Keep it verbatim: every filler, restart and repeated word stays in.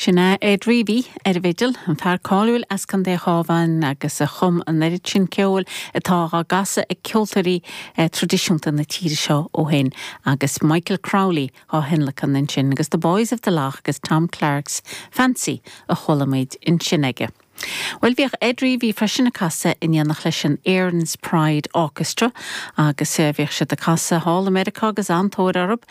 Sin é Ed Reavy ar an bhfidil, an fear cáiliúil as Contae an Chabháin agus a chum an oiread sin ceoil atá á gcasadh ag ceoltóirí eh, traidisiúnta na tíre seo ó shin agus Michael Crowley á thionlacan ansin agus The Boys of the Lough agus Tom Clark's Fancy a chuala muid ansin aige. Well bhíodh Ed Reavy freisin ag casadh in éineacht leis an Erin's Pride Orchestra agus eh, bhíodh siad ag casadh thall i Meiriceá agus an-tóir orthu.